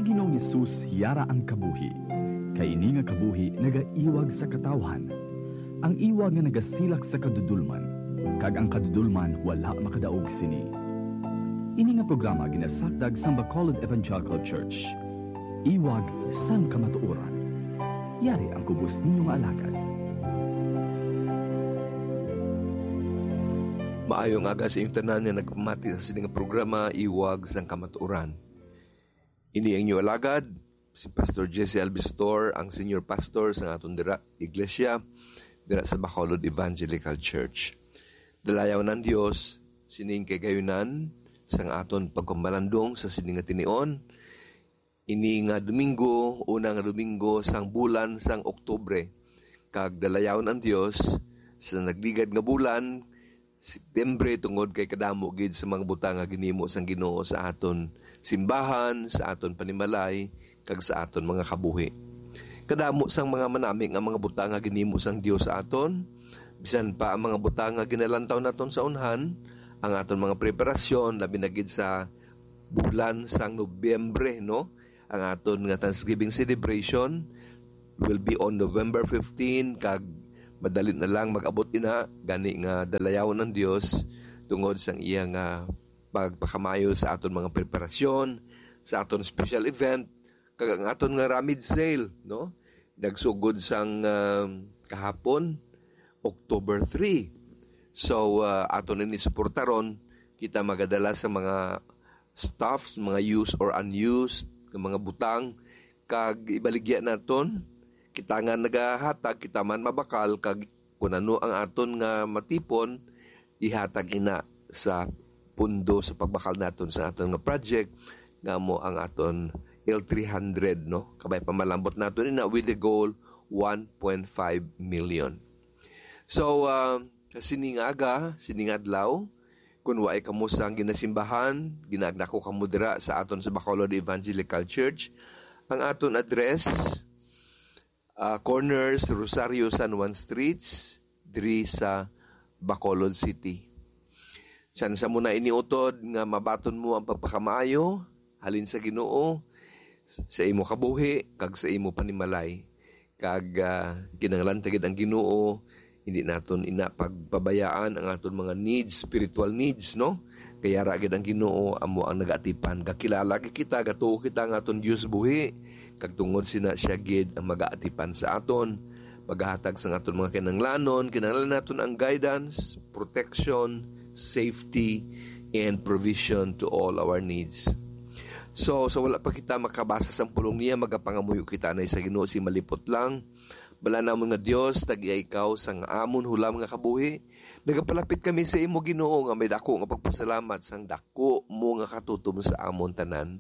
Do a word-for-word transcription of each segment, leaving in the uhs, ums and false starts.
Ginoong Jesus yara ang kabuhi, kay ini nga kabuhi nagaiwag sa katawhan. Ang iwag nga nagasilak sa kadudolman, kag ang kadudolman wala makadaog sini. Ini nga programa ginasakdag sang Bacolod Evangelical Church. Iwag sang kamatuoran. Yari ang kubos ninyo nga alagad. Maayong aga sa inyong tanan nga nagpamati sa sini nga programa, Iwag sang Kamatuoran. Ini ang inyo alagad, si Pastor Jesse Albistor, ang senior pastor sa aton dira iglesia, dira sa Bacolod Evangelical Church. Dalayaw ng Dios, sining kay gayunan sang aton pagpamalandong sa sini nga tinion. Ini nga Domingo, una nga Domingo sang bulan sang Oktubre, kag dalayaw ng Dios sa nagligad nga bulan, September, tungod kay kadamo gid sa mga butang nga ginimo sang Ginoo sa aton simbahan, sa aton panimalay, kag sa aton mga kabuhi. Kadamo sang mga manami nga mga butang nga ginimo sang Dios sa aton, bisan pa ang mga butang nga ginalantaw naton sa unhan, ang aton mga preparasyon, labi na gid sa bulan sang Nobyembre, no? Ang aton nga Thanksgiving celebration will be on November fifteen, kag madali na lang mag-abot ina, gani nga dalayawon ang Dios tungod sang iya nga pagpakamayo sa aton mga preparasyon, sa aton special event, kag ang aton nga ramid sale, no? Nagsugod sang, um, kahapon, October three. So, uh, aton ini suportaron. Kita magadala sa mga stuffs, mga used or unused nga mga butang, kag ibaligya naton. Kita nga nagahatag, kita man mabakal, kag kun ano ang aton nga matipon, ihatag ina sa pundo sa pagbakal naton sa aton nga project, nga mo ang aton L three hundred, no? Kabay pa malambot naton ina with the goal one point five million. So, ah, sa sining aga, sining adlaw, kung waay kamo sang ginasimbahan, ginaagda ko kamo dira sa aton sa Bacolod Evangelical Church. Ang aton address, ah, corner sa Rosario, San Juan Streets, diri sa Bacolod City. San sa mo na iniutod nga mabaton mo ang pagpakamaayo halin sa Ginoo sa imo kabuhi kag sa imo panimalay. Kag, ah, kinahanglan ta gid ang Ginoo, hindi naton ina pagpabayaan ang aton mga needs, spiritual needs, no? Kay yara gid ang Ginoo amo ang nagaatipan. Gakilala gid kita, gatuo kita nga aton Dios buhi, kag tungod sina siya gid ang magaatipan sa aton, paghatag sa aton mga kinahanglanon. Kinahanglan naton ang guidance, protection, safety, and provision to all our needs. So, sa wala pa kita makabasa sang pulong niya, magapangamuyo kita na sa Ginoo si malipot lang. Bala namon nga Dios, tag-iya ikaw sang amon hulam nga kabuhi. Nagapalapit kami sa imo, Ginoo, nga may dako nga pagpasalamat sang dako mo nga katutom sa amon tanan.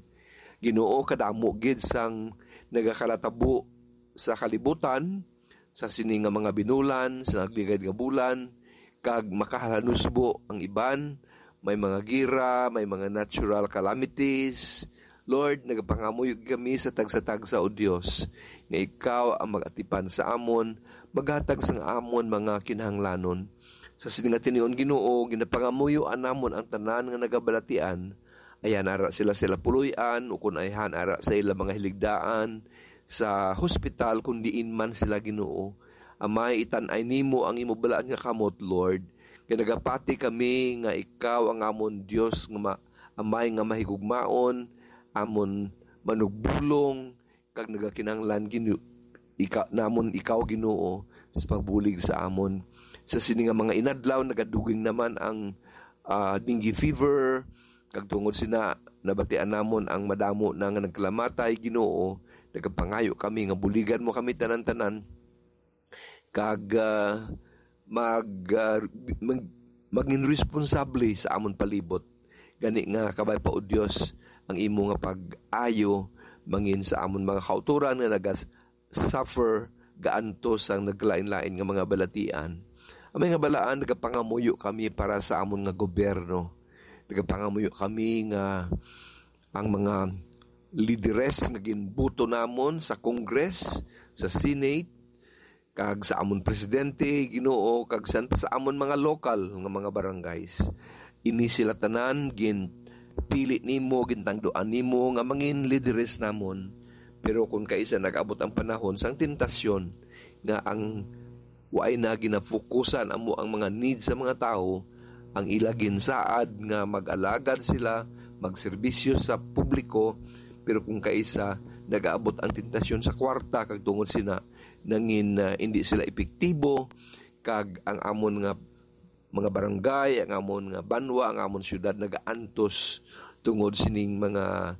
Ginoo, kadamo gid sang nagakalatabo sa kalibutan, sa sini nga mga binulan, sa nagligad nga bulan, kag makahalanusbo ang iban. May mga gira, may mga natural calamities. Lord, nagapangamuyo kami sa tagsa-tagsa, O Dios, nga ikaw ang mag-atipan sa amon, maghatag sang amon mga kinahanglanon. Sa sini nga tinion, Ginoo, ginapangamuyoan namon ang tanan nga nagabalatian. Ayhan ara sila sa ila puloy-an, ukon ayhan ara sa ila mga hiligdaan, sa hospital, kun diin man sila, Ginoo. Amay, itan-ay nimo ang imo balaan nga kamot, Lord. Kay nagapati kami nga ikaw ang amon Dios nga ma-, Amay nga mahigugmaon, amon manugbulong, kag nagakinahanglan Ginu-, ika-, namon ikaw, Ginoo, sa pagbulig sa amon. Sa sini nga mga inadlaw, nagaduging naman ang, ah, dengue fever, kag tungod sina, nabatian namon ang madamo na nga nagkalamatay, Ginoo. Nagapangayo kami nga buligan mo kami tanan-tanan, kag, ah, mag, ah, mag-, maging responsable sa amon palibot. Gani nga, kabay pa, O Dios, ang imo nga pag-ayo mangin sa amon mga kautoran nga nagas-, suffer gaantos ang naglain-lain nga mga balatian. Amay nga balaan, nagapangamuyo kami para sa amon nga gobyerno. Nagapangamuyo kami nga ang mga lideres nga ginbuto namon sa Congress, sa Senate, kag sa amon presidente, Ginoo, kag san pa sa amon mga lokal nga mga barangays. Ini sila tanan gin-, pili nimo, gintangduan nimo nga mangin lideres namon. Pero kung kaisa nag-abot ang panahon sang tentasyon nga ang waay na ginafokusan amo ang mga needs sa mga tawo, ang ila ginsaad nga mag-alagad sila, magserbisyo sa publiko, pero kung kaisa nag-aabot ang tentasyon sa kwarta kag tungod sina nangin, ah, hindi sila epektibo, kag ang amon nga mga barangay, ang amon nga banwa, ang amon siyudad nagaantos tungod sining mga,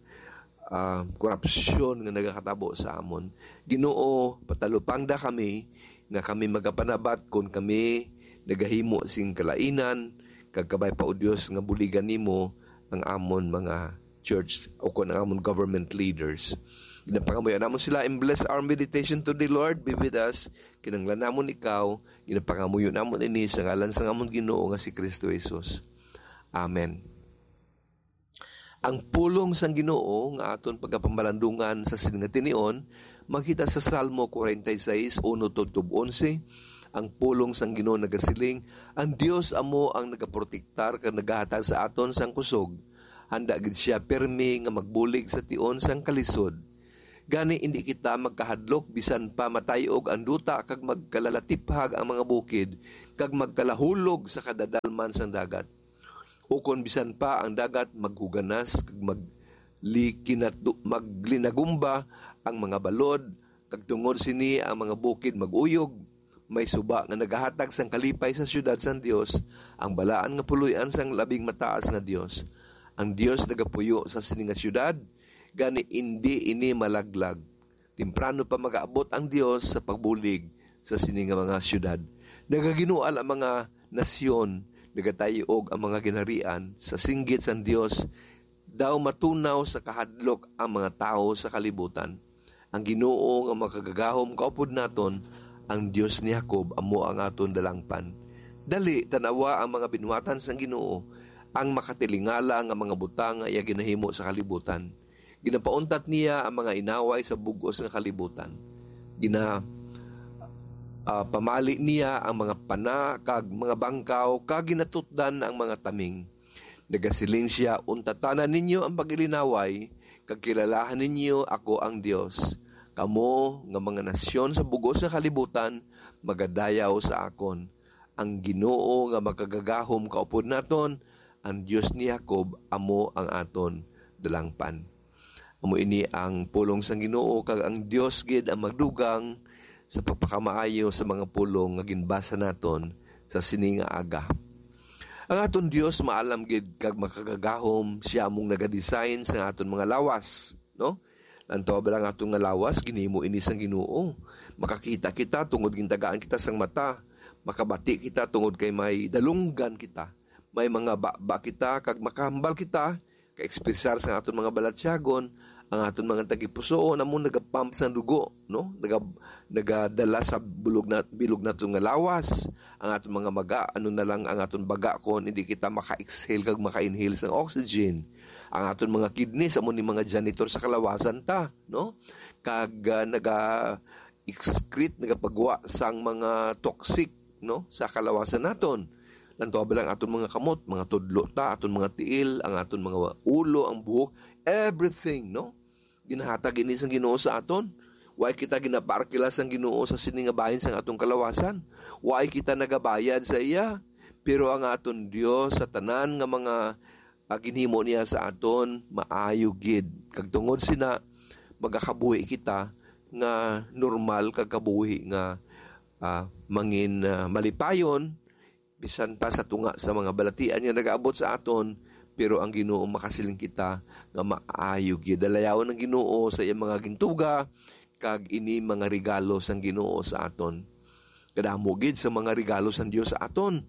ah, korupsyon nga nagakatabo sa amon. Ginoo, patalupangda kami nga kami magapanabat kon kami nagahimo sing kalainan, kag kabay pa, O Dios, nga buligan nimo ang amon mga church o kon ang amon government leaders. Ginapangamuyo namon sila, and bless our meditation today, Lord. Be with us. Kinahanglan namon ikaw. Ginapangamuyo namon ini sa ngalan sang amon Ginoo nga si Kristo Jesus. Amen. Ang pulong sang Ginoo nga aton pagapamalandungan sa sining nga tinion makita sa Salmo forty-six, uno tubtob onse. Ang pulong sang Ginoo nagasiling, "Ang Dios amo ang nagaprotektar kag nagahatag sa aton sang kusog. Handa gid sia pirmi nga magbulig sa tion sang kalisod." Gani, indi kita magkahadlok, bisan pa matay-og ang duta kag magkalalatiphag ang mga bukid, kag magkalahulog sa kadadalman sang dagat. Ukon bisan pa ang dagat maghuganas kag maglikinatu-, maglinagumba ang mga balod, kag tungod sini ang mga bukid mag-uyog, may suba nga nagahatag sang kalipay sa siyudad sang Dios, ang balaan nga puloy-an sang Labing Mataas nga Dios. Ang Dios nagapuyo sa sini nga siyudad, gani indi ini malaglag. Temprano pa magaabot ang Dios sa pagbulig sa sini nga mga siyudad. Nagaginual ang mga nasyon, nagatay-og ang mga ginharian sa singgit sang Dios. Daw matunaw sa kahadlok ang mga tawo sa kalibutan. Ang Ginoo nga makagagahom kaupod naton, ang Dios ni Jacob, amo ang aton dalangpan. Dali, tan-awa ang mga binuhatan sang Ginoo, ang makatilingala nga mga butang nga iya ginahimo sa kalibutan. Ginapauntat niya ang mga inaway sa bug-os nga kalibutan. Gina, ah, pamali niya ang mga pana kag mga bangkaw, kag ginatutdan ang mga taming. Nagasiling sia, "Untatanan ninyo ang pag-ilinaway, kag kilalahan ninyo ako ang Dios. Kamo nga mga nasyon sa bug-os nga kalibutan magadayaw sa akon." Ang Ginoo nga makagagahom kaupod naton, ang Dios ni Jacob, amo ang aton dalangpan. Amo ini ang pulong sang Ginoo, kag ang Dios gid ang magdugang sa pagpakamaayo sa mga pulong nga ginbasa naton sa sini nga aga. Ang aton Dios maalam gid kag makagagahom, sia mong nagadesign sa aton mga lawas, no? Lantaw bala ang aton nga lawas, ginhimo ini sang Ginoo. Makakita kita tungod gintagaan kita sang mata. Makabati kita tungod kay may dalunggan kita. May mga baba kita kag makahambal kita, ka-ekspresar sang aton mga balatyagon, ang aton mga tagipusoon amo nagapump sang dugo, no? Naga-, nagadala sa bulog na, bilog naton nga lawas. Ang aton mga maga, ano na lang ang aton baga kon hindi kita maka-exhale kag maka-inhale sang oxygen. Ang aton mga kidneys amo ni mga janitor sa kalawasan ta, no? Kag, ah, naga-excrete, nagapagwa sang mga toxic, no, sa kalawasan naton. Lantaw bala ang aton mga kamot, mga tudlo ta, aton mga tiil, ang aton mga ulo, ang buhok, everything, no? Ginahatag ini sang Ginoo sa aton. Way kita ginaparkila sang Ginoo sa sini nga bahin sang aton kalawasan. Way kita nagabayad sa iya. Pero ang aton Dios sa tanan nga mga, ah, ginhimo niya sa aton, maayo gid. Kag tungod sina, magakabuhi kita nga normal kag kabuhi nga, ah, mangin, ah, malipayon, bisan pa sa tunga sa mga balatian nga nagaabot sa aton, pero ang Ginoo makasiling kita nga maayo gid. Dalayawon ang Ginoo sa iyang mga gintuga, kag ini mga regalo sang Ginoo sa aton. Kadamo gid sa mga regalo sang Dios sa aton.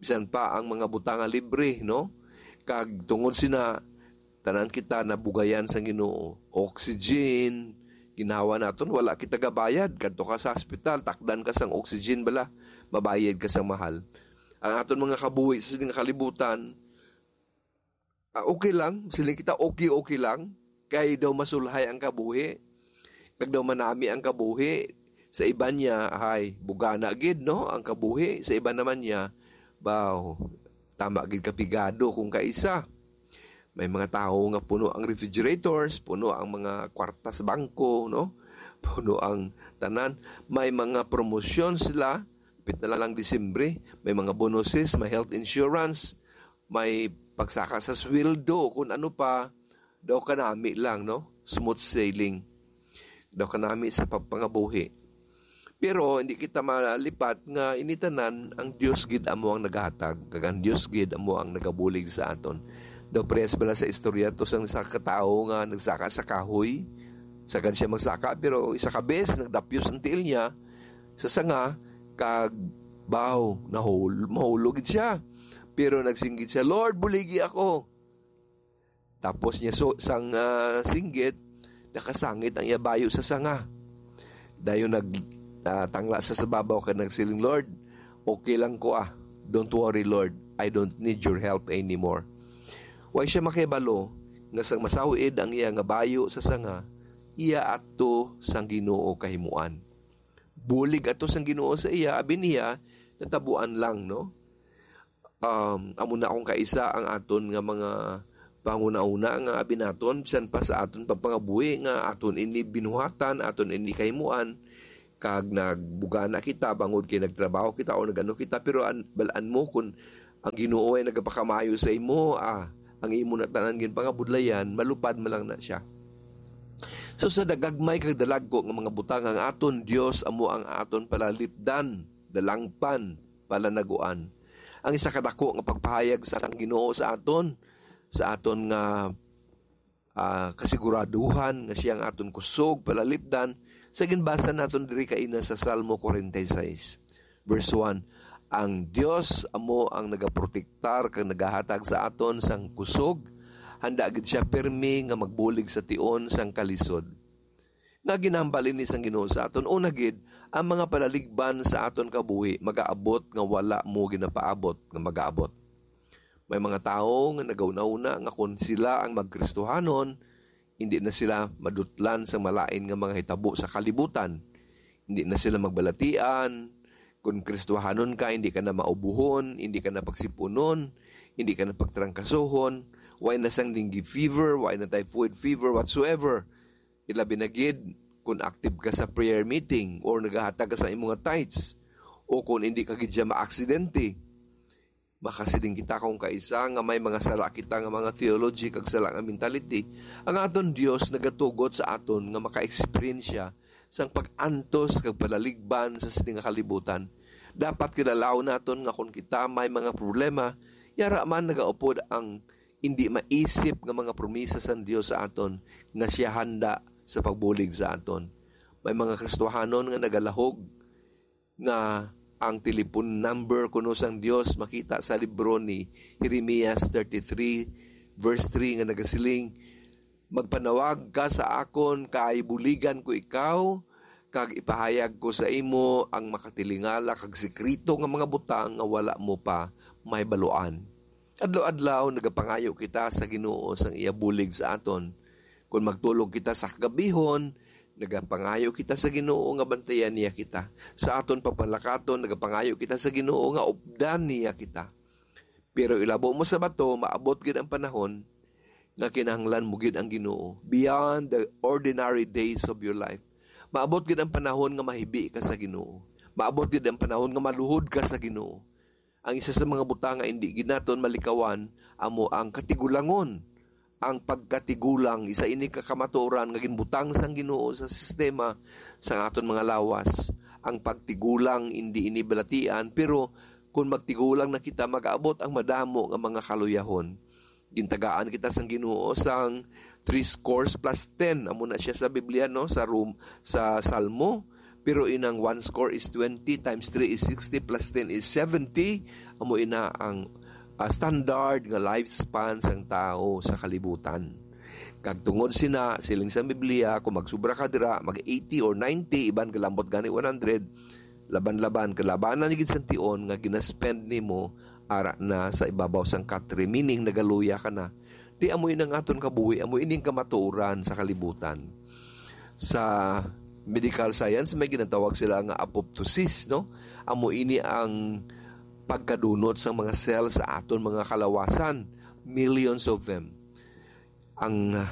Bisan pa ang mga butang nga libre, no? Kag tungod sina, tanan kita nabugayan sang Ginoo. Oxygen, ginhawa naton, wala kita gabayad. Kadto ka sa hospital, takdan ka sang oxygen bala, mabayad ka sang mahal. Ang aton mga kabuhi sa sining kalibutan, ah, okay lang, siling kita, okay, okay lang. Kay daw masulhay ang kabuhi. Kag daw manami ang kabuhi. Sa iban niya, ay, bugana gid, no, ang kabuhi. Sa iban naman niya, baw, tama gid kapigado kung kaisa. May mga tawo nga puno ang refrigerators, puno ang mga kwarta sa bangko, no? Puno ang tanan. May mga promosyon sila, pit na lang Disyembre. May mga bonuses, may health insurance, may pagsaka sa sweldo, kung ano pa. Daw kanami lang, no? Smooth sailing. Daw kanami sa pagpangabuhi. Pero hindi kita malipat nga ini tanan ang Dios gid amo ang nagahatag, kag ang Dios gid amo ang nagabulig sa aton. Daw parehas bala sa istorya to sang isa ka tawo nga nagsaka sa kahoy. Sagad siya magsaka, pero isa ka beses nagdapyos ang tiil niya sa sanga, kag baw, nahul-, mahulog gid siya. Pero nagsinggit siya, "Lord, buligi ako." Tapos niya so, sang ah, singgit, nakasangit ang iya bayo sa sanga. Dayon nag ah, tangla sa sababaw kag nagsiling, "Lord, okay lang ko, ah. Don't worry, Lord. I don't need your help anymore." Way siya makahibalo nga sang masaw-id ang iya nga bayo sa sanga, iya ato sang Ginoo kahimuan. Bulig ato sang Ginoo sa iya, abi niya, natabuan lang, no? Um, amo na akong kaisa ang aton nga mga panghunahuna nga abi naton, bisan pa sa aton pagpangabuhi nga aton ini binuhatan, aton ini kahimuan, kag nagbugana kita bangod kay nagtrabaho kita o nagano kita, pero an-, bal-an mo, kun ang Ginoo ay nagapakamayo sa imo, ah, ang imo na tanan ginpangabudlayan, malupad man lang na siya. So, sa dagagmay kag dalagko nga mga butang, ang aton Dios amo ang aton palalipdan, dalangpan, palanaguan. Ang isa ka dako nga pagpahayag sa ang Ginoo sa aton, sa aton nga ah, kasiguraduhan nga siya ang aton kusog, palalipdan, sa ginbasa naton diri kaina sa Salmo forty-six, verse one, "Ang Dios amo ang nagaprotektar kag nagahatag sa aton sang kusog, handa gid siya pirmi nga magbulig sa tion sang kalisod." Nga ginahambal ini sang Ginoo sa aton, una gid, ang mga palaligban sa aton kabuhi magaabot nga wala mo ginapaabot nga magaabot. May mga tawo nga nagahunahuna nga kon sila ang magkristohanon, hindi na sila madutlan sa malain nga mga hitabo sa kalibutan. Hindi na sila magbalatian. Kon Kristohanon ka, hindi ka na maubuhon, hindi ka na pagsipunon, hindi ka na pagtrangkasohon, way na sang dengue fever, way na typhoid fever, whatsoever. Ilabi na gid kung active ka sa prayer meeting or nagahatag ka sa imong tithes, o kung hindi ka gid siya maaksidente. Makasiling kita kung kaisa nga may mga sala kita nga mga theology kag sala nga mentality. Ang aton Dios nagatugot sa aton nga maka-eksperyensya sang pag-antos kag palaligban sa sini nga kalibutan. Dapat kilalaon naton nga kon kita may mga problema, yara man nagaupod ang hindi maisip nga mga promisa sang Dios sa aton nga siya handa sa pagbulig sa aton. May mga Kristohanon nga nagalahog nga ang telepon number kuno sang Dios makita sa libro ni Jeremias thirty-three, verse three, nga nagasiling, "Magpanawag ka sa akon, kay buligan ko ikaw, kag ipahayag ko sa imo ang makatilingala kag sekreto nga mga butang nga wala mo pa mahibaluan." Adlaw-adlaw nagapangayo kita sa Ginoo sang iya bulig sa aton. Kon magtulog kita sa kagabihon, nagapangayo kita sa Ginoo nga bantayan niya kita. Sa aton pagpanlakaton, nagapangayo kita sa Ginoo nga updan niya kita. Pero ilabo mo sa bato, maabot gid ang panahon nga kinahanglan mo gid ang Ginoo beyond the ordinary days of your life. Maabot gid ang panahon nga mahibi ka sa Ginoo. Maabot gid ang panahon nga maluhod ka sa Ginoo. Ang isa sa mga butang nga indi gid naton malikawan amo ang katigulangon. Ang pagkatigulang, isa ini ka kamatuoran nga ginbutang sang Ginoo sa sistema sang aton mga lawas. Ang pagtigulang, indi ini balatian, pero kun magtigulang na kita, mag-abot ang madamo nga mga kaluyahon. Gintagaan kita sang Ginoo sang three scores plus ten. Amo na siya sa Biblia, no? Sa Rom-, sa Salmo. Pero inang one score is twenty, times three is sixty, plus ten is seventy. Amo ina ang, ah, standard nga lifespan sang tawo sa kalibutan. Kag tungod sina, siling sa Biblia, kung magsubra ka dira, mag eighty or ninety, iban galambot gani one hundred, laban-laban, kalabanan gid sang tion nga ginaspend nimo ara na sa ibabaw sang katre, meaning nagaluya ka na. Di amo ini ang aton kabuhi, amo ining kamatuoran sa kalibutan. Sa medical science, may ginatawag sila nga apoptosis, no? Amo ini ang pagkadunot sang mga cell sa aton mga kalawasan, millions of them. Ang, ah,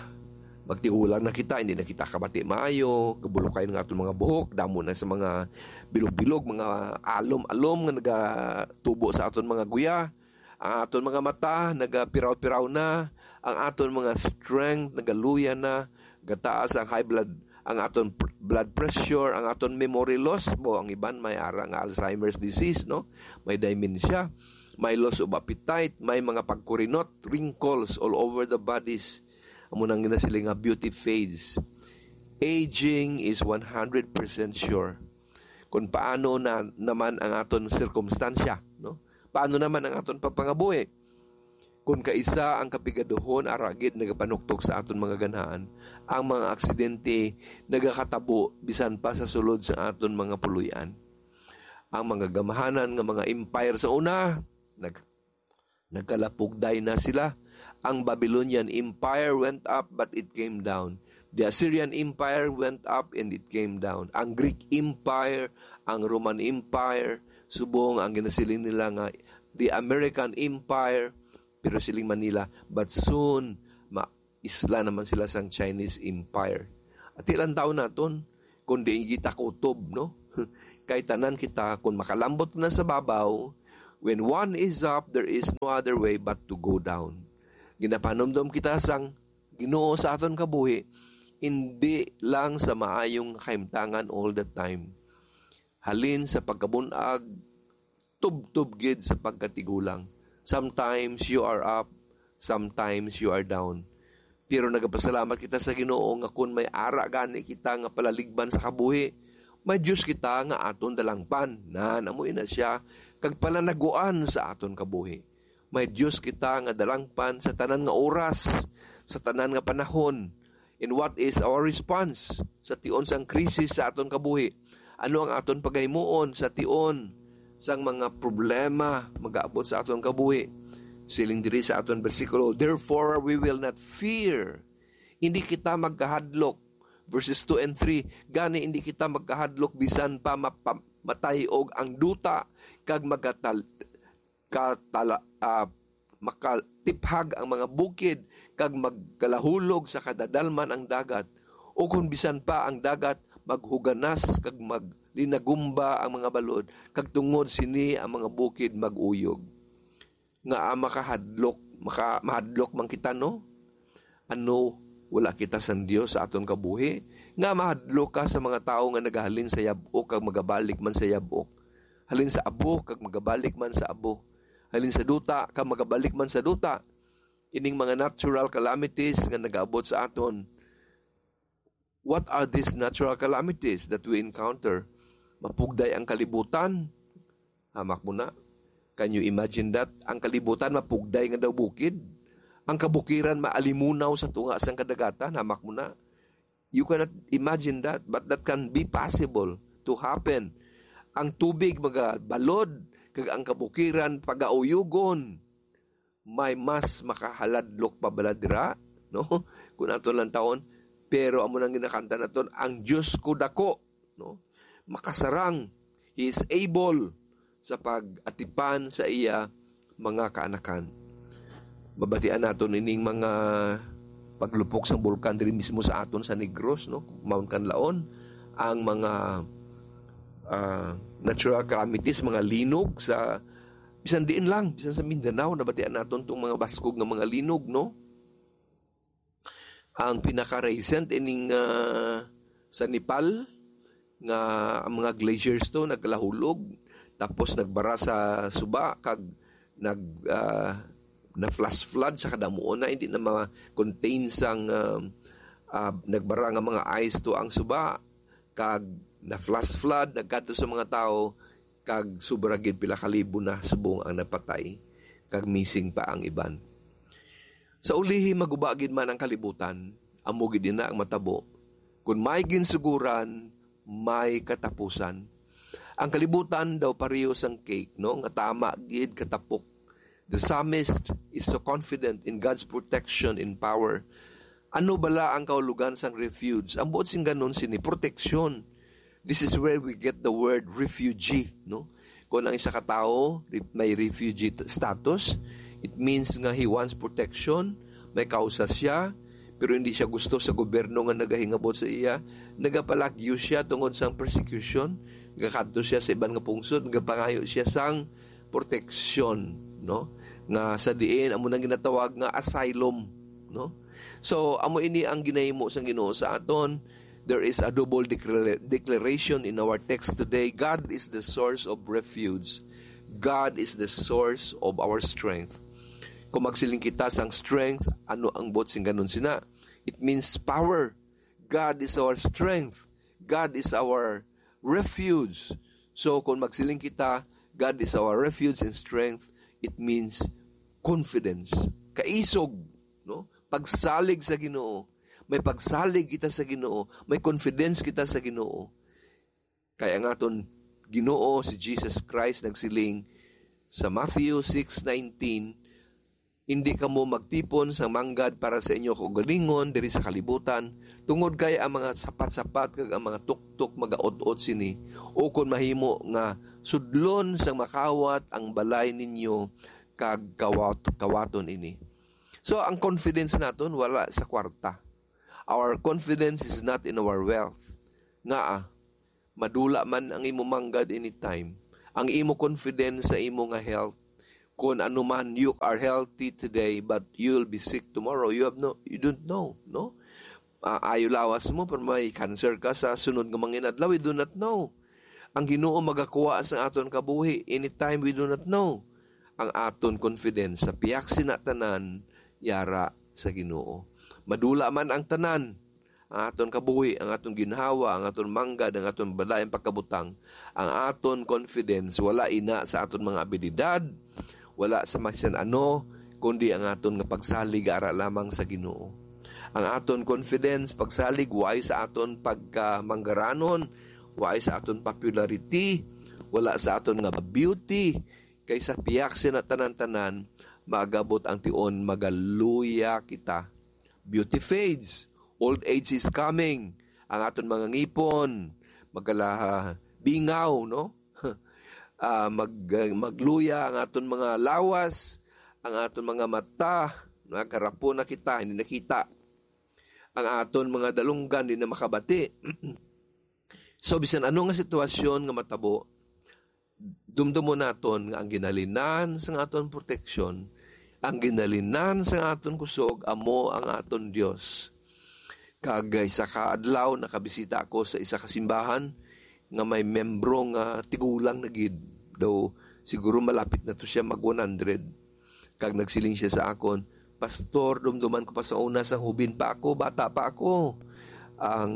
magtigulang na kita, hindi na kita kabati maayo, gabulokay nga aton mga buhok, damo na sa mga bilog-bilog, mga alom-alom nga nagatubo sa aton mga guya, ang aton mga mata nagapiraw-piraw na, ang aton mga strength nagaluya na, gataas ang high blood, ang aton pr-, blood pressure, ang aton memory loss, bo, ang iban may ara nga Alzheimer's disease, no? May dementia, may loss of appetite, may mga pagkurinot, wrinkles all over the bodies. Amo nang ginasiling nga beauty fades. Aging is one hundred percent sure. Kung paano na naman ang aton sirkumstansya, no? Paano naman ang aton pagpangabuhi? Kung kaisa ang kapigaduhon, ara gid nagapanuktok sa aton mga ganahan, ang mga aksidente nagakatabo bisan pa sa sulod sa aton mga puloy-an. Ang mga gamhanan nga mga empire sa una, nag-, nagkalapugday na sila. Ang Babylonian Empire went up, but it came down. The Assyrian Empire went up and it came down. Ang Greek Empire, ang Roman Empire, subong ang ginasiling nila nga the American Empire, pero siling man nila, but soon, ma-, isla naman sila sang Chinese Empire. At ilang taon naton, kung di kita kutob, no? Kay tanan kita, kung makalambot na sa babaw, when one is up, there is no other way but to go down. Ginapanumdom kita sang Ginoo sa aton kabuhi, hindi lang sa maayong kahimtangan all the time. Halin sa pagkabun-ag, tubtob gid sa pagkatigulang. Sometimes you are up, sometimes you are down. Pero nagapasalamat kita sa Ginoo nga kun may ara gani kita nga palaligban sa kabuhi, may Dios kita nga aton dalangpan. Nan, amo ina siya, kag palanaguan sa aton kabuhi. May Dios kita nga dalangpan sa tanan nga oras, sa tanan nga panahon. And what is our response sa tion sang krisis sa aton kabuhi? Ano ang aton pagahimuon sa tion sang mga problema magaabot sa aton kabuhi? Siling diri sa aton bersikulo, "Therefore we will not fear." Hindi kita magkahadlok. Verses two and three, "Gani hindi kita magkahadlok bisan pa mapa-, matay og ang duta, kag magatal-, katala-, ah, makatiphag ang mga bukid, kag magkalahulog sa kadadalman ang dagat, o kon bisan pa ang dagat maghuganas kag maglinagumba ang mga balod, kag tungod sini ang mga bukid mag-uyog." Nga, ah, makahadlok, maka-, mahadlok man kita, no? Ano, wala kita sang Dios sa aton kabuhi? Nga mahadlok ka sa mga tawo nga nagahalin sa yab-ok kag magabalik man sa yab-ok? Halin sa abo kag magabalik man sa abo. Halin sa duta kag magabalik man sa duta. Ining mga natural calamities nga nagaabot sa aton. What are these natural calamities that we encounter? Mapugday ang kalibutan. Hamak mo na. Can you imagine that? Ang kalibutan mapugday nga daw bukid. Ang kabukiran maalimunaw sa tunga sang kadagatan. Hamak mo na. You cannot imagine that, but that can be possible to happen. Ang tubig magabalod, kag ang kabukiran pagauyugon. May mas makahaladlok pa bala dira, no? Kung aton lang taon, pero amo nang ginakanta naton, "Ang Dios ko dako," no? Makasarang, He is able sa pag-atipan sa iya mga kaanakan. Mabatian naton ining mga paglupok sang bulkan diri mismo sa aton sa Negros, no? Mount Kanlaon, ang mga, ah, natural calamities, mga linog sa bisan diin lang, bisan sa Mindanao, nabatian naton tong mga baskog nga mga linog, no? Ang pinaka-recent ining, ah, sa Nepal, nga ang mga glaciers to nagkalahulog, tapos nagbara sa suba, kag nag, ah, na-flash flood sa kadamuon na, hindi na ma-contain sang, ah, ah, nagbara nga mga ice to ang suba, kag na-flash flood, nagkadto sa mga tawo, kag sobra gid pila ka libo na subong ang napatay, kag missing pa ang iban. Sa ulihi, maguba gid man ang kalibutan, amo gid ina ang matabo. Kun may ginsuguran, may katapusan. Ang kalibutan daw pareho sang cake, no? Nga tama gid katapok. The psalmist is so confident in God's protection and power. Ano bala ang kahulogan sang refuge? Ang buot sing ganon sini, protection. This is where we get the word refugee, no? Kung ang isa ka tawo re-, may refugee t-, status, it means nga he wants protection, may kausa siya, Pero hindi siya gusto sa gobyerno nga nagahingabot sa iya. Nagapalagyo siya tungod sang persecution. Nagakadto siya sa iban nga pungsod, nagapangayo siya sang proteksyon, no? Nga sa diin amo nang ginatawag nga asylum, no? So, amo ini ang ginahimo sang Ginoo sa aton. There is a double declara-, declaration in our text today. God is the source of refuge. God is the source of our strength. Kung magsiling kita sang strength, ano ang buot sing kanon sina? It means power. God is our strength. God is our refuge. So, kung magsiling kita, "God is our refuge and strength," it means confidence. Kaisog, no? Pagsalig sa Ginoo. May pagsalig kita sa Ginoo. May confidence kita sa Ginoo. Kay ang aton Ginoo, si Jesus Christ, nagsiling sa Matthew six nineteen, "Indi kamo magtipon sang manggad para sa inyo kaugalingon diri sa kalibutan, tungod kay ang mga sapat-sapat kag ang mga tuktok magaut-ot sini, ukon mahimo nga sudlon sang makawat ang balay ninyo kag kawat-, kawaton ini." So, ang confidence naton wala sa kwarta. Our confidence is not in our wealth. Ngaa, madula man ang imo manggad anytime. Ang imo confidence sa imo nga health. Kung ano man, you are healthy today, but you will be sick tomorrow. You have no, you don't know, no? Ah, ayo lawas mo, pero may cancer ka sa sunod nga mga inadlaw, we do not know. Ang Ginoo magakuha sa aton kabuhi anytime, we do not know. Ang aton confidence sa pihak sina tanan yara sa Ginoo. Madula man ang tanan, ang aton kabuhi, ang aton ginhawa, ang aton manggad, ang aton balay, ang pagkabutang, ang aton confidence wala ina sa aton mga abilidad, wala sa masan ano, kundi ang aton nga pagsalig ara lamang sa Ginoo. Ang aton confidence, pagsalig, way sa aton pagkamanggaranon, way sa aton popularity, wala sa aton nga beauty, kay sa pihak sina tanan-tanan, maagabot ang tion, magaluya kita. Beauty fades, old age is coming. Ang aton mga ngipon, magkala-, bingaw, no? Ah, mag-, magluya ang aton mga lawas, ang aton mga mata, nagkarapo na kita, hindi nakita. Ang aton mga dalunggan, di na makabati. So, bisan ano nga sitwasyon nga matabo, dumdumon naton nga ang ginhalinan sang aton proteksyon, ang ginhalinan sang aton kusog, amo ang aton Dios. Kag isa ka adlaw, nakabisita ako sa isa ka simbahan nga may membro nga tigulang na gid. Daw, siguro malapit na to siya mag one hundred. Kag nagsiling siya sa akon, "Pastor, dumduman ko pa sa una, sang hubin pa ako, bata pa ako. Ang,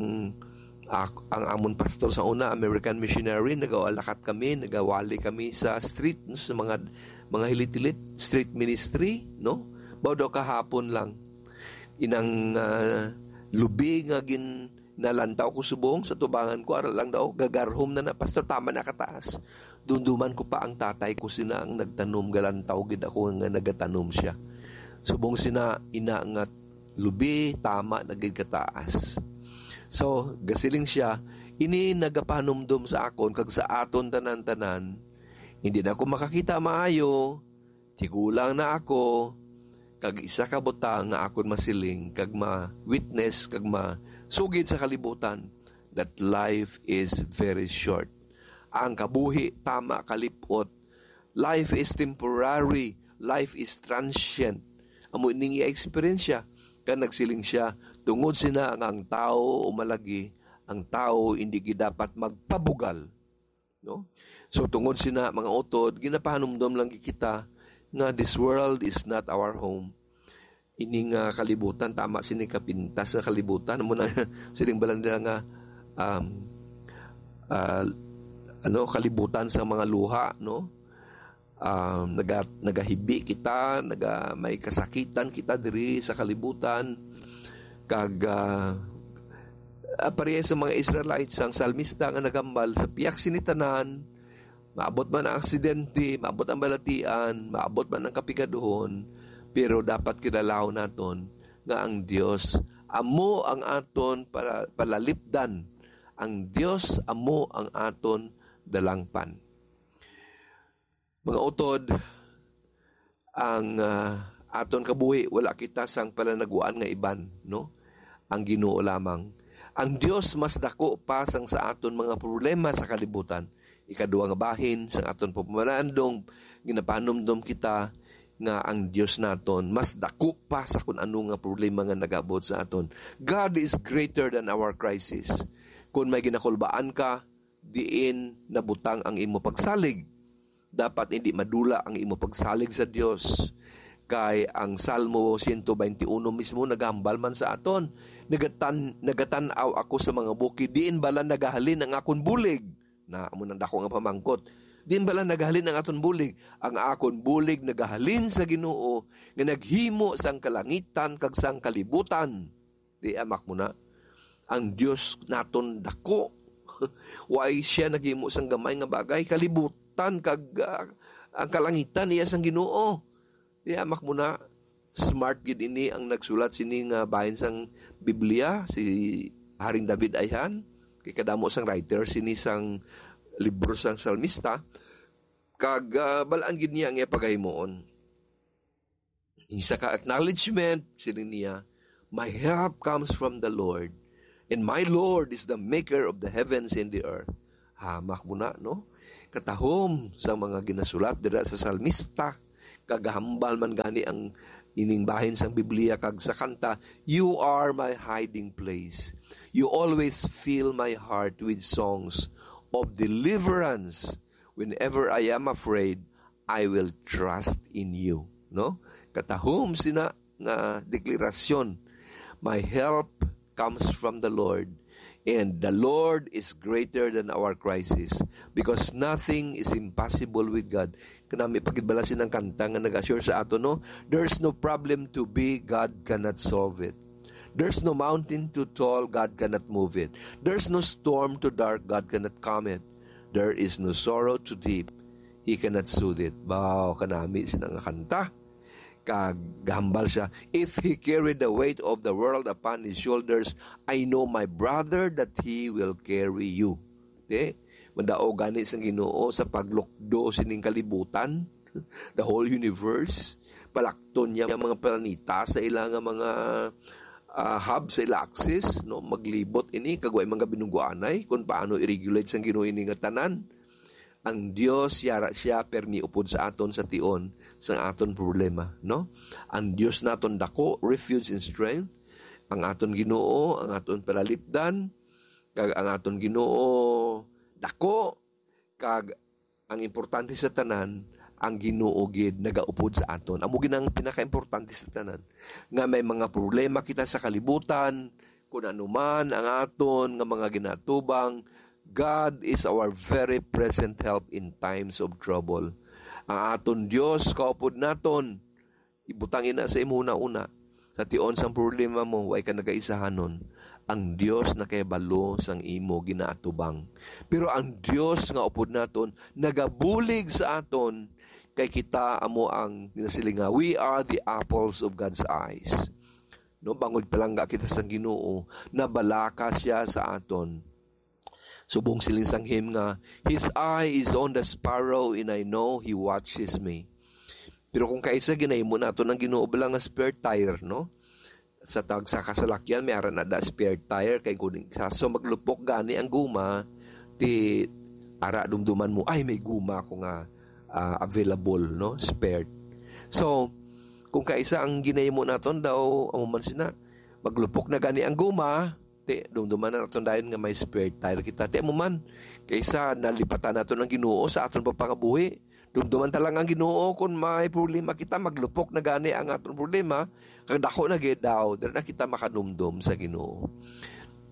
ak-, ang amon pastor sa una, American missionary, nagawalakat kami, nagawali kami sa street, no, sa mga, mga hilit-hilit, street ministry, no? Baw daw kahapon lang. Inang, ah, lubi nga gin-, nalantaw ko subong sa tubangan ko, ara lang daw, gagarhom na na, 'Pastor, tama na kataas.' Dumduman ko pa ang tatay ko sina ang nagtanom, galantaw gid ako nga nagatanom siya. Subong sina ina nga lubi, tama na gid kataas." So, gasiling siya, "Ini nagapanumdom sa akon kag sa aton tanan-tanan. Hindi na ako makakita maayo, tigulang na ako, kag isa ka butang nga akon masiling kag ma-witness kag masugid sa kalibutan, that life is very short." Ang kabuhi tama kalip-ot. Life is temporary. Life is transient. Amo ining iya eksperyensya. Kag nagsiling siya, "Tungod sina nga ang tawo umalagi, ang tawo hindi gid dapat magpabugal." No? So, tungod sina, mga utod, ginapahanumdom lang gid kita nga this world is not our home. Ini nga kalibutan, tama sini kapintas nga kalibutan. Amo na, siling bala nila nga, um, ah, ano, kalibutan sa mga luha, no? Um, naga-, nagahibi kita, naga-, may kasakitan kita diri sa kalibutan. Kag, ah, ah, pareha sa mga Israelites, ang salmista nga nagambal, "Sa pihak sini tanan, maabot man ang aksidente, maabot ang balatian, maabot man ang kapigaduhon, pero dapat kilalaon naton nga ang Dios amo ang aton pala-, palalipdan. Ang Dios amo ang aton dalangpan." Mga utod, ang, ah, aton kabuhi, wala kita sang palanaguan nga iban, no? ang Ginoo lamang. Ang Dios mas dako pa sang sa aton mga problema sa kalibutan. Ikadua nga bahin sang aton pagpamalandong, ginapanumdom kita nga ang Dios naton mas dako pa sa kun ano nga problema nga nagabot sa aton. God is greater than our crisis. Kung may ginakulbaan ka, diin nabutang ang imo pagsalig, dapat hindi madula ang imo pagsalig sa Dios. Kay ang Salmo one twenty-one mismo nagahambal man sa aton, "Nagatan-, nagatan-aw ako sa mga bukid, diin bala nagahalin ang akon bulig?" Na, amo nang dako nga pamangkot. "Diin bala nagahalin ang aton bulig?" Ang akon bulig nagahalin sa Ginoo nga naghimo sang kalangitan kag sang kalibutan. Di amak mo na. Ang Dios naton dako. Why siya naghimo sang gamay nga bagay? Kalibutan kag, ah, ang kalangitan iya sang Ginoo. Di amak mo na. Smart gid ini ang nagsulat sini nga bahin sang Biblia, si Haring David ayhan. Kay kadamo sang writer sini sang libro sang salmista. Kag, ah, balaan gid niya ang iya pagahimuon. Isa ka acknowledgement, siling niya, "My help comes from the Lord, and my Lord is the maker of the heavens and the earth." Hamak mo na, no? Katahom sa mga ginasulat dira sa salmista, kagahambal man gani ang ining bahin sang Biblia kag sa kanta, "You are my hiding place. You always fill my heart with songs of deliverance. Whenever I am afraid, I will trust in you." No? Katahom sina nga deklarasyon, "My help comes from the Lord, and the Lord is greater than our crisis, because nothing is impossible with God." Kanami pagidbala sinang kanta nga nag-assure sa ato, no? "There's no problem to be God cannot solve it. There's no mountain too tall God cannot move it. There's no storm too dark God cannot calm it. There is no sorrow too deep He cannot soothe it." Baw, kanami sina nga kanta. Kag gahambal siya, "If He carried the weight of the world upon His shoulders, I know, my brother, that He will carry you." Di? Madaog gani sang Ginoo sa paglukdo sining kalibutan, the whole universe. Palakton niya ang mga planeta sa ila nga mga, ah, hub sa ila axis, no? Maglibot ini, kag way mga binunggoanay kung paano i-regulate sang Ginoo ini nga tanan. Ang Dios, yara siya, permi upod sa aton sa tion sang aton problema, no? Ang Dios naton dako, refuge and strength. Ang aton Ginoo, ang aton palalipdan, kag ang aton Ginoo dako, kag ang importante sa tanan, ang Ginoo gid nagaupod sa aton. Amo gid ang pinakaimportante sa tanan. Nga may mga problema kita sa kalibutan, kun ano man ang aton nga mga ginatubang, God is our very present help in times of trouble. Ang aton Dios kaupod naton, ibutang ina sa imo una-una. Sa tion sang problema mo, way ka nagaisahanon. Ang Dios nakahibalo sang imo ginaatubang. Pero ang Dios nga upod naton nagabulig sa aton, kay kita amo ang ginasiling nga, "We are the apples of God's eyes." No, bangod palangga kita sang Ginoo, nabalaka siya sa aton. Subong siling sang hymn nga, "His eye is on the sparrow, and I know He watches me." Pero kung kaisa, ginahimo naton ang Ginoo bala nga spare tire, no? Sa tag-, sa kasalakyan, may ara na da spare tire, kay kung sa, so maglupok gani ang guma, ti ara dumduman mo, "Ay, may guma ako nga, ah, available, no? Spare." So, kung kaisa ang ginahimo naton daw, amo man sina, maglupok na gani ang guma, ti, dumduman na naton dayon nga may spare tire kita. Ti, amo man, kaysa nalipatan naton ang Ginoo sa aton pagpangabuhi. Dumduman ta lang ang Ginoo, kung may problema kita, maglupok na gani ang aton problema, kag dako na gid daw, dira na kita makadumdom sa Ginoo.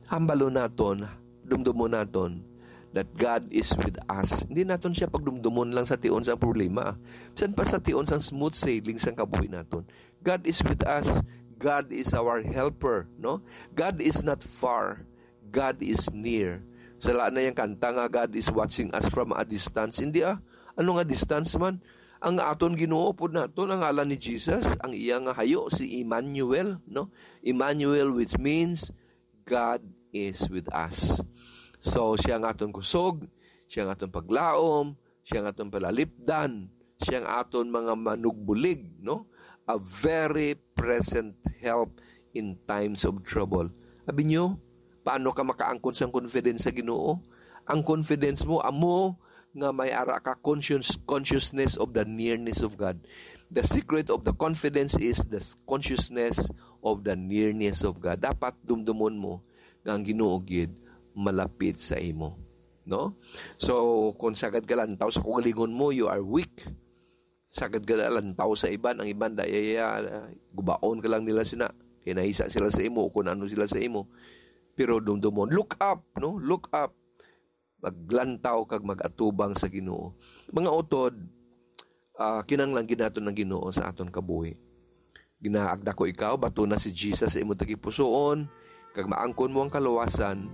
Hambalon naton, dumdumon naton, that God is with us. Hindi naton siya pagdumdumon lang sa tion sang problema. Bisan pa sa tion sang smooth sailing sang kabuhi naton. God is with us. God is our helper, no? God is not far. God is near. Sala na yang kanta nga, "God is watching us from a distance." Hindi, ah. Ano nga distance man? Ang aton Ginoo pud naton, ang ngalan ni Jesus, ang iya nga hayo si Emmanuel, no? Emmanuel, which means God is with us. So, siya ang aton kusog, siya ang aton paglaom, siya ang aton palalipdan, siya ang aton mga manugbulig, no? A very present help in times of trouble. Sabi niyo, paano ka makaangkon sang confidence sa Ginoo? Ang confidence mo amo nga may ara ka conscious, consciousness of the nearness of God. The secret of the confidence is the s-, consciousness of the nearness of God. Dapat dumdumon mo nga ang Ginoo gid malapit sa imo, no? So, kung sagad ka lantaw sa kaugalingon mo, you are weak. Sagad ka lantaw sa iban, ang iban daya, gubaon ka lang nila sina. Kay naisa sila sa imo, kung ano sila sa imo. Pero dumdumon, look up, no? Look up. Maglantaw kag mag-atubang sa Ginoo. Mga utod, ah, kinahanglan gid naton ang Ginoo sa aton kabuhi. Ginaagda ko ikaw, batuna si Jesus sa imo tagipusoon, kag maangkon mo ang kaluwasan,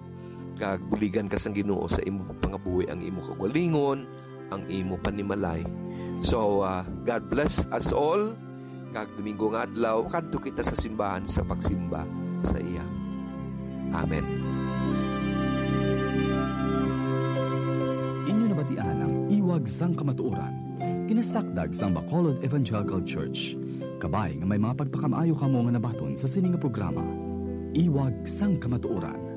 kag buligan ka sang Ginoo sa imo pangabuhi, ang imo kaugalingon, ang imo panimalay. So, ah, God bless us all. Kag Domingo nga adlaw, kadto kita sa simbahan sa pagsimba sa iya. Amen. Inyo nabatian ang Iwag sang Kamatuoran, ginasakdag sang Bacolod Evangelical Church. Kabay nga may mga pagpakamaayo kamo nga nabaton sa sini nga programa. Iwag sang Kamatuoran.